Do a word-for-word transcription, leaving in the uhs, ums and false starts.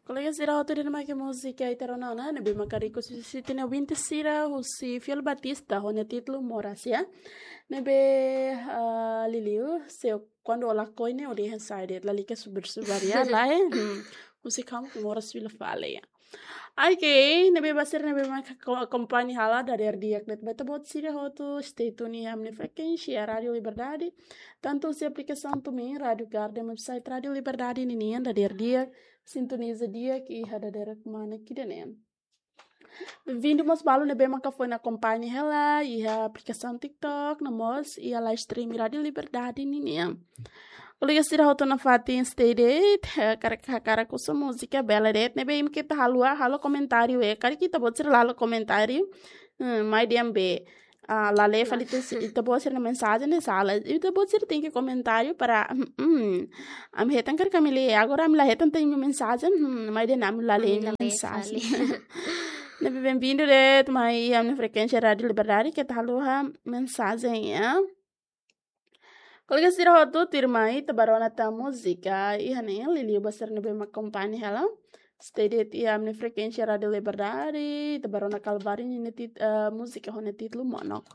Kolega sira hotu, ida-ne'e mak múzika ita rona ona, ne'ebé maka request husi ita-nia ouvinte sira husi Fiel Batista, ho nia títulu Moras, ya. Ne'ebé, ah, liuliu, se kuandu o lakohi ne'e, o dehan sai de'it, lalika subar-subar, ya, lae. Hmm. Husi kamu moras fila fali, ya. Ok, ne'ebé ba sira ne'ebé maka ko-, akompaña hela dadeer di'ak de'it ba ita-boot sira hotu, stay tune iha ami-nia frekuénsia Rádio Liberdade, tantu husi aplikasaun TuneIn, Rádio Garden, website Rádio Liberdade ninian, dadeer di'ak, sintoniza di'ak iha dadeer manek ida-ne'e. Benvindu mós balu ne'ebé maka foin akompaña hela iha aplikasaun TikTok, no mós iha live stream Rádio Liberdade ninian. Kolega sira hotu nafatin stay de'it, eh, karik hakarak husu múzika bele de'it, ne'ebé imi keta haluha halo komentáriu, eh, karik ita-boot sira la halo komentáriu, hmm, mai dehan be, ah, la lee fali ita-boot sira-nia mensajen ne'e sala. Ita-boot sira tenke komentáriu para, hmm, hmm. Ami hetan karik ami lee, agora ami la hetan ita-nia mensajen, hmm, mai dehan ami la lee imi-nia mensajen. Ne'ebé benvindu de'it mai ami-nia frekuénsia Rádio Liberdade, keta haluha mensajen, ya. Kolega sira hotu, tuirmai ita bá rona tan múzika iha ne'e, liuliu ba sira ne'ebé mak akompaña hela. Stay de'it iha ami-nia frekuénsia Rádio Liberdade, ita bá rona Kalvário ninia tit-, eh, múzika ho nia títulu Monok.